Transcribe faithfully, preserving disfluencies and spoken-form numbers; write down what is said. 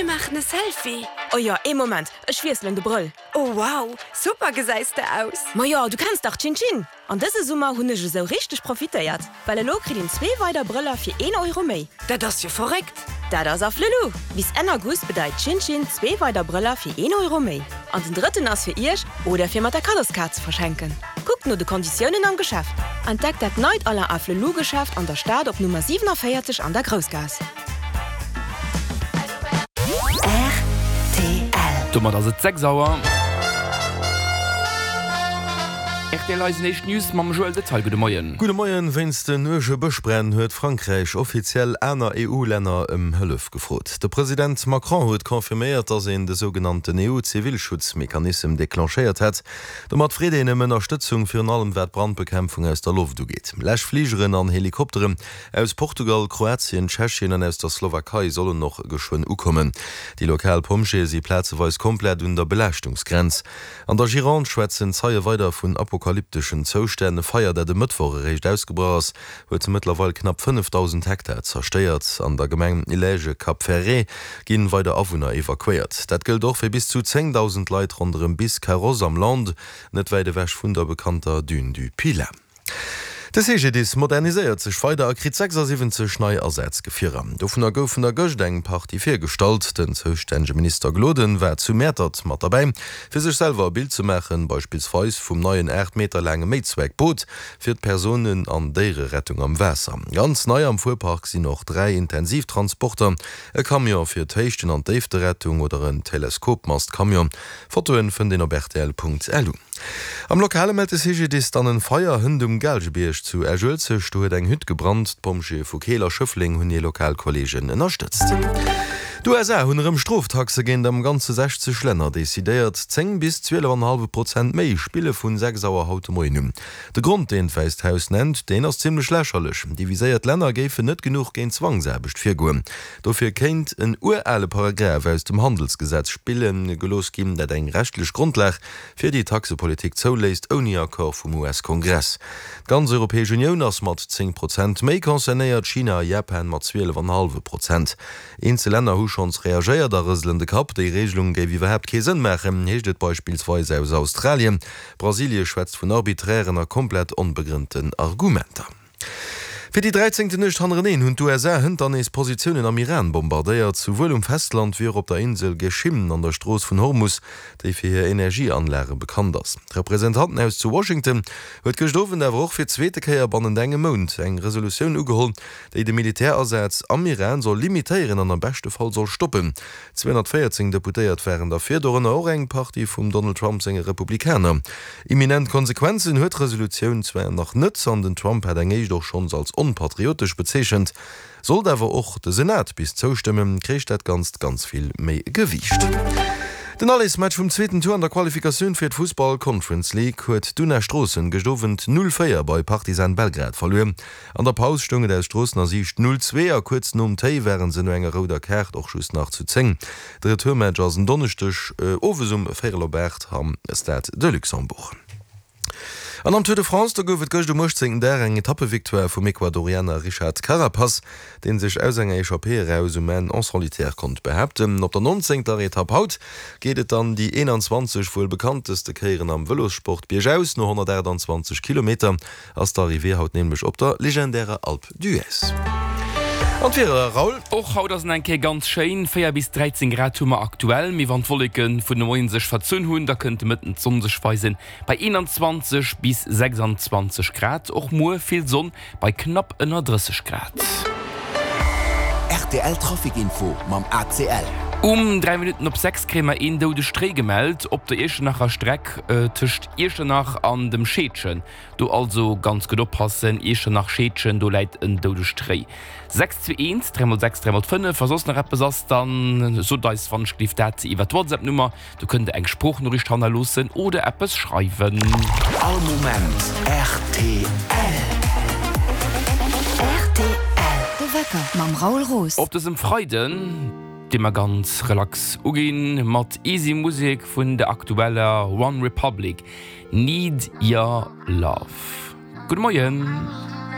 Mir maachen e Selfie! Oh jo, ee Moment, ech wiesselen de Brëll. Oh wow, super gesäis de aus! Ma jo, du kenns dach Tschin Tschin! An dëse Summer hunn ech esou richteg profitéiert, well elo kritt een zwee weider Brëller fir een Euro méi. Dat ass jo verréckt! Dat ass Afflelou! Bis Enn August bedeit Tschin Tschin zwee weider Brëller fir een Euro méi. An den drëtten ass fir iech oder fir mat der Kaddoskaart ze verschenken. Kuckt no de Konditiounen am Geschäft. Entdeckt dat neit Alain Afflelou Geschäft an der Stad op Nummer siewenundvierzig an der Groussgaass. R T L. Domat ass et sechs Auer. R T L eisen éischt News mam Joël Detail. Gudde Moien. Gudde Moien. Wéinst den uerge Bëschbränn huet Frankräich offiziell aner E U-Länner ëm Hëllef gefrot. De President Macron huet confirméiert, datt een de sougenannten E U-Zivilschutzmechanism declenchéiert hätt. Domat freet een ëm Ënnerstëtzung, virun allem wat d'Brandbekämpfung aus der Loft ugeet. Läschfligeren an Helikopteren aus Portugal, Kroatien, Tschechien an aus der Slowakei sollen och geschwënn ukommen. Déi lokal Pompjeeë si plazeweis komplett un der Belaaschtungsgrenz. An der Gironde schwätzen Zeie weider vun apokalypteschen Zoustänn. E Feier, dat e Mëttwoch eréischt ausgebrach ass, huet mëttlerweil knapp fënnefdausend Hektar zerstéiert. An der Gemeng Ilège-Cap Ferret ginn weider Awunner evakuéiert. Dat gëllt och fir bis zu zéngdausend Leit ronderëm Biscarrosse am Landes, net wäit ewech vun der bekannter Dune du Pilat. De C G D I S moderniséiert sech weider a kritt sechsasiwwenzeg nei Asazgefierer. Dovunner goufen der gëscht eng Partie virgestallt. Den zoustännege Minister Gloden war zu Mäertert mat derbäi, fir sech selwer e Bild ze maachen, beispillsweis vum neien aacht Meter laange Méizweckboot fir d'Persounen an Déiererettung am Waasser. Ganz nei am Fuerpark sinn och dräi Intensivtransporter, e Camion fir d'Héichten an d'Déifterettung oder en Teleskopmastcamion. Fotoen fënnt een op rtl Punkt lu. Am Lokale mellt de C G D I S dann en Feier hënt um Gaalgebierg zu Esch-Uelzecht. Do huet eng Hütt gebrannt. D'Pompjeeë vu Keel a Schëffleng hunn hir lokal Kolleegen ënnerstëtzt. D'U S A hunn erëm Stroftaxe géint am Ganze sechzeg Länner decidéiert. Zéng bis zwielef an e hallwe Prozent méi spille vun sechs Auer haut de Moien un. De Grond, deen d'Wäisst Haus nennt, deen ass zimmlech lächerlech. Déi viséiert Länner géifen net genuch géint Zwangsaarbecht virgoen. Dofir kéint en urale Paragraph aus dem Handelsgesetz spille gelooss ginn, dat eng rechtlech Grondlag fir déi Taxepolitik zouléisst, ouni Accord vum U S-Kongress. D'ganz Europäesch Unioun ass mat zéng Prozent méi concernéiert, China a Japan mat zwielef an e hallwe Prozent. Eenzel Länner hu schonns reagéiert a rëselen de Kapp. Déi Regelung géif iwwerhaapt kee Sënn maachen, heescht et beispillsweis aus Australien. Brasilie schwätzt vun arbiträren a komplett onbegrënnten Argumenter. Fir déi dräizéngten Nuecht hannereneen hunn d'U S A hënt dann nees Positiounen am Iran bombardéiert, souwuel um Festland wéi och op der Insel Geschim an der Strooss vun Hormus, déi fir hir Energieanlage bekannt ass. D'Representantenhaus zu Washington huet gëscht Owend awer och fir d'zweete Kéier bannent engem Mount eng Resolutioun ugeholl, déi de Militärasaz am Iran soll limitéieren an am beschte Fall soll stoppen. Zweehonnertvéierzéng Deputéiert waren derfir, dorënner och eng Partie vum Donald Trump senge Republikaner. Imminent Konsequenzen huet d'Resolutioun zwar nach net, an den Trump hat eng éischt och schonns als onpatriotesch bezeechent. Sollt awer och de Senat bis zoustëmmen, kréich dat Ganzt ganz vill méi Gewiicht. Den Allesmatch vum zweeten Tour an der Qualifikatioun fir d'Fussball Conference League huet d'Una Stroossen gëscht Owend null véier bei Partizan Belgrad verluer. An der Paus stoung et aus Stroossener Siicht null zwee a kuerz nom Téi ware se no enger rouder Kaart och just nach zu zéng. De Retourmatch ass en Donneschdeg owes um véierel op aacht am Stade de Luxembourg. An am Tour de France, do gouf et gëscht um uechtzéngten Dag eng Etappevictoire vum Ecuadorianer Richard Carapaz, dee sech aus enger Echappée eraus um Enn en solitaire konnt behaapten. Op der nonzéngter Etapp haut geet et dann déi eenanzwanzeg wuel bekannteste Kéieren am Vëlossport biergaus. No honnertaachtanzwanzeg Kilometer ass d'Arrivée haut nämlech op der legendärer Alpe d'Huez. An d'Wieder, Raoul? Och haut ass et eng Kéier ganz schéin, véier bis dräizéng Grad hu mer aktuell, mee wann d'Wolleke vun de Moien sech verzunn hunn, da kënnt de Mëtten d'Sonn sech weisen bei eenanzwanzeg bis sechsanzwanzeg Grad. Och muer vill Sonn bei knapp ënner drësseg Grad. R T L Trafic Info mam A C L. Um dräi Minutten op sechs kréie mer een doudegt Réi gemellt op der Iechternacher Streck tëscht Iechternach an dem Scheedgen. Do also ganz gutt oppassen, Iechternach, Scheedgen, do läit en doudegt Réi. Sechs zwee eent, dräi mol sechs, dräi mol fënnef. Wa soss nach eppes ass, dann sot eis wann ech gelift dat iwwer d'WhatsApp-Nummer. Do kënnt der eng Sproochnoriicht hannerloossen oder eppes schreiwen. All Moment R T L. R T L. De Wecker mam Raoul Roos. Op dësem Freiden, dee mer ganz relax uginn, mat easy Musek vun der aktueller One Republic, Need Your Love. Gudde Moien.